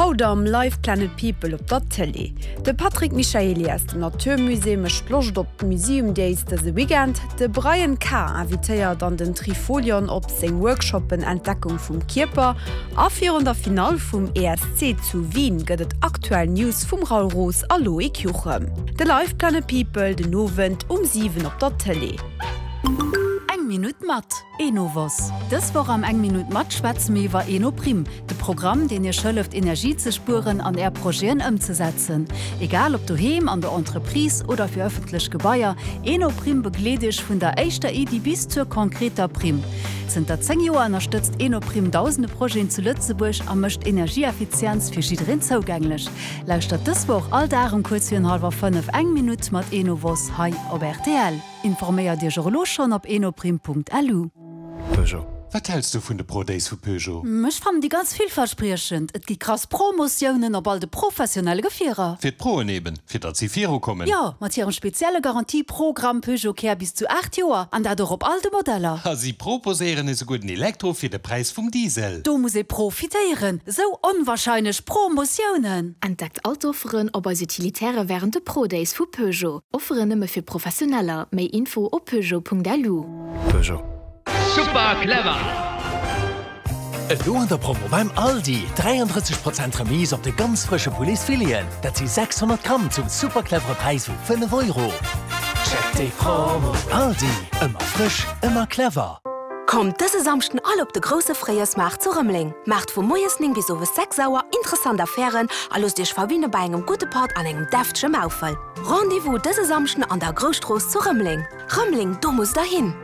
Haut am Live Planet People op der Tëlee. De Patrick Michaely aus dem Natur Musée mécht Loscht op d'Museum Days dëse Weekend. De Brian K. invitéiert an den Trifolion op seng Workshoppen Entdeckung vum Kierper. A virun der Finall vum ESC zu Wien gëtt et aktuell News vum Raoul Roos a Loïc Juchem. De Live Planet People den Owend um 7 op der Tëlee. Eng Minutt mat Enovos. Dës Woch am Eng Minutt mat schwätze mir iwwer Enoprim, de Programm, deen Iech hëlleft Energie ze spueren an Är Projeten ëmzesetzen. Egal ob doheem, an der Entreprise oder fir ëffentlech Gebaier, Enoprim begleet Iech vun der éischter Iddi bis zur konkreter Primm. Zënter 10 Joer ënnerstëtzt Enoprim dausende Projeten zu Lëtzebuerg a mécht Energieeffizienz fir jiddereen zougänglech. Lauschtert dës Woch all Dag um kuerz virun hallwer 5 eng Minutt mat Enovos hei op rtl. Informéiert Iech och elo schonn op enoprim.lu. Peugeot. Wat häls du vun de Pro Days vu Peugeot? Ech fannen déi ganz villverspriechend. Et gi krass Promotiounen op all de professionelle Gefierer. Fir d'Proen eben, fir datt si viru kommen. Jo, mat hirem spezielle Garantie-Programm Peugeot Care bis zu 8 Joer, an dat och op all de Modeller. A si proposéieren esouguer den Elektro fir de Präis vum Diesel. Do muss ee profitéieren, esou onwahrscheinlech Promotiounen! Entdeckt all d'Offeren op eis Utilitaire wärend de Pro Days vu Peugeot. Offeren nëmme fir Professioneller. Méi Info op peugeot.lu. Peugeot. Super clever! Elo an der Promo beim Aldi, 33 Prozent Remise op de ganz frësche Pouletsfileten, dat si 600 Gramm zum super clevere Präis vu 5 Euro. Check déi Promo! Aldi, ëmmer frësch, ëmmer clever! Kommt dëse Samschden all op de grousse Fréijoersmaart zu Rëmeleng. Maacht vu moies 9 bis owes 6 Auer interessant Affären a loosst iech verwinne bei engem gudde Patt an engem deftege Maufel. Rendez-vous dëse Samschden an der Grousstrooss zu Rëmeleng. Rëmeleng, do musst der hin!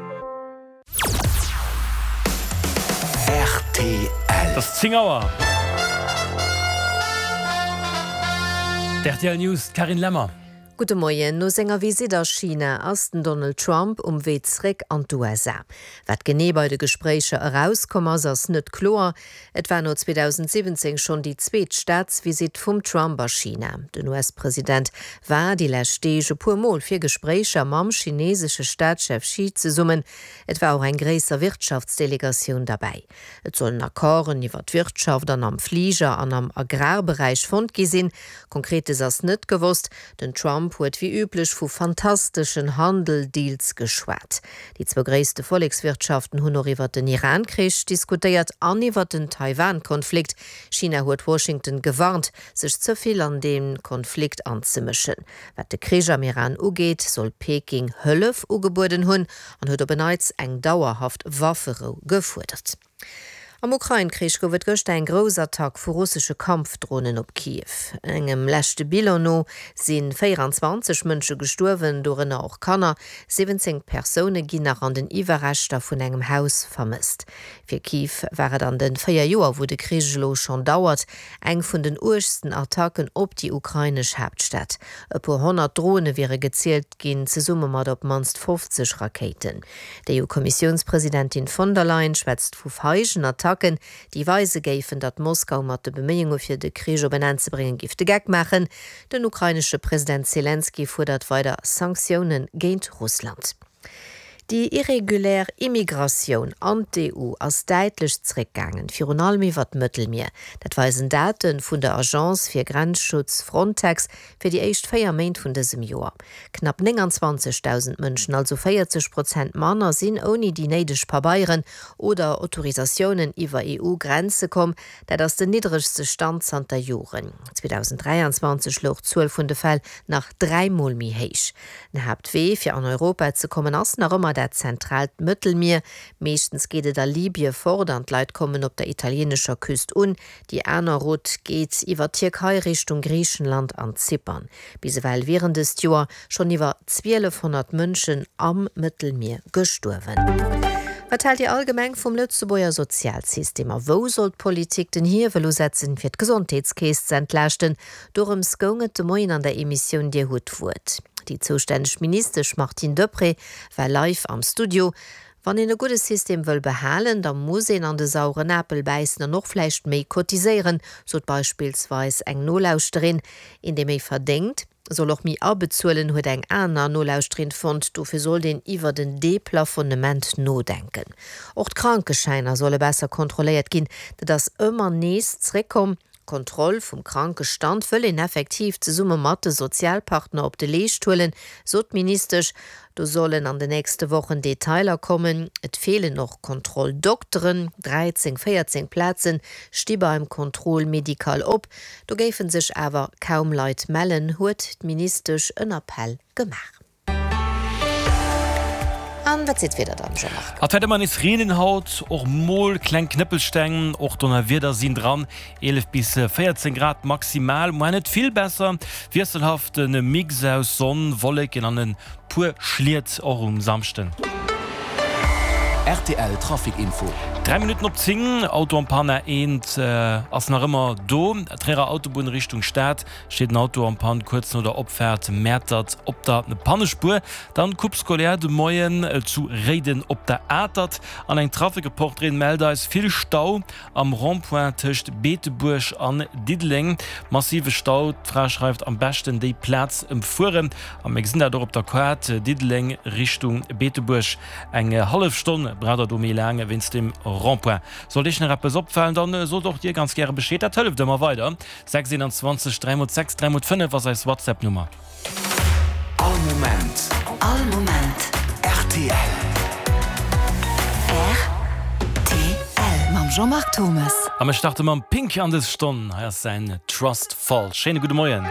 Rtl. Et ass 10 Auer. D'RTL News, d'Carine Lemmer. Gudde Moien. No senger Visitt a China ass den Donald Trump um Wee zréck an d'USA. Wat genee bei de Gespréicher erauskomm ass, ass net kloer. Et war no 2017 schonn déi zweet Staatsvisitt vum Trump a China. Den US-President war déi lescht Deeg e puer Mol fir Gespréicher mam chinesesche Staatschef Xi zesummen. Et war och eng gréisser Wirtschaftsdelegatioun derbäi. Et sollen Accorden iwwer d'Wirtschaft an am Fliger an am Agrarberäich fonnt gi sinn. Konkretes ass net gewosst. Den Trump huet wéi üblech vu fantasteschen Handel-Deals geschwat. Déi zwou gréisste Vollekswirtschaften hunn och iwwer den Iran-Krich diskutéiert an iwwer den Taiwan-Konflikt. China huet Washington gewarnt, sech ze vill an dee Konflikt anzemëschen. Wat de Krich am Iran ugeet, soll Peking Hëllef ugebueden hunn an huet op en Neits eng dauerhaft Wafferou gefuerdert. Am Ukrain-Krich gouf et gëschter eng grouss Attack vu russesche Kampfdronen op Kiew. Engem leschte Bilan no si 24 Mënsche gestuerwen, dorënner och Kanner. 17 Persoune ginn nach an den Iwwerreschter vun engem Haus vermësst. Fir Kiew war et an de 4 Joer, wou de Krich elo schonn dauert, eng vun den uergsten Attacken op déi ukrainesch Haaptstad. E puer 100 Drone wiere gezielt ginn, zesumme mat op d'mannst 50 Rakéiten. D'EU-Kommissiounspresidentin von der Leyen schwätzt vu feigen Attacken, déi weise géifen, datt Moskau mat de Beméiunge fir de Krich op en Enn ze bréngen géif de Geck maachen. Den ukrainesche President Selenskyj fuerdert weider Sanktioune géint Russland. Déi irregulär Immigratioun an d'EU ass däitlech zeréckgaangen, virun allem iwwer d'Mëttelmier. Dat weisen Date vun der Agence fir Grenzschutz Frontex fir déi éischt 4 Méint vun dësem Joer. Knapp 29.000 Mënschen, also 40 Prozent manner, sinn ouni déi néideg Pabeieren oder Autorisatiounen iwwer EU-Grenze komm. Dat ass den niddregste Stand zanter Joren. 2023 louch d'Zuel vun de Fäll nach dräimol méi héich. Den Haaptwee fir an Europa ze kommen ass nach ëmmer dat zentraalt Mëttelmier. Meeschtens geet et a Libye fort an d'Leit kommen op der italieenescher Küst un. Déi aner Route geet iwwer d'Tierkei Richtung Griichenland an Zypern. Bis ewell wieren dëst Joer schonn iwwer 1.200 Mënschen am Mëttelmier gestuerwen. Wat haalt Dir allgemeng vum Lëtzebuerger Sozialsystem a wou soll d'Politik den Hiewel usetzen, fir d'Gesondheetskeess ze entlaaschten? Dorëms goung et de Moien an der Emissioun Dir hutt d'Wuert. Déi zoustänneg Ministesch Martine Deprez war live am Studio. Wann een e gudde System wëll behalen, da muss een an de saueren Apel bäissen an och vläicht méi cotiséieren, sot beispillsweis eng Nolauschterin. Een, dee méi verdéngt, soll och méi abezuelen, huet eng aner Nolauschterin fonnt. Dofir sollt een iwwert en Deplafonnement nodenken. Och d'Krankeschäiner solle besser kontrolléiert ginn. Dat ass ëmmer nees zréckkomm. D'Kontroll vum Krankestand wëll een effektiv zesumme mat de Sozialpartner op de Leescht huelen, sot d'Ministesch. Do sollen an de nächste Wochen Detailer kommen. Et feelen och Kontrolldokteren, 13, 14 Plaze sti beim Contrôle médical op. Do géife sech awer kaum Leit mellen, huet d'Ministesch en Appell gemaach. An wat seet d'Wieder dann, Jean-Marc? Et wäert ëmmer nees reenen haut, och mol kleng Knëppelsteng, och Donnerwieder sinn dran. 11 bis 14 Grad maximal, muar net vill besser. Wiesselhafte Mix aus Sonn, Wolleken an e puer Schliet och um Samschden. Rtl Trafic Info. 3 Minutten op 10, Auto en panne, eent ass nach ëmmer do. Tréierer Autobunn Richtung Stad. Steet en Auto en panne kuerz no der Opfaart Mäertert op der Pannespuer. Dann Coupe scolaire de Moien zu Réiden op der Atert an eng Trafikreporterin mellt eis vill Stau am Rond-point tëscht Beetebuerg an Diddeleng. Massive Stau, d'Fra schreift am beschten déi Plaz ëmfueren. A mir gesinn dat och op der Kaart, Diddeleng Richtung Beetebuerg eng hallef Stonn braucht der do méi laang wéinst dem Rond-point. Sollt iech nach eppes opfalen, dann sot och dir ganz gäre Bescheed, dat hëlleft ëmmer weider. 6 21 3 mol 6 3 mol 5 ass eis WhatsApp Nummer. All Moment. All Moment. Rtl. Rtl. Mam Jean-Marc Thomes. A mir starte mam Pink an dës Stonn. Hei ass säin Trust Fall. Schéine gudde Moien.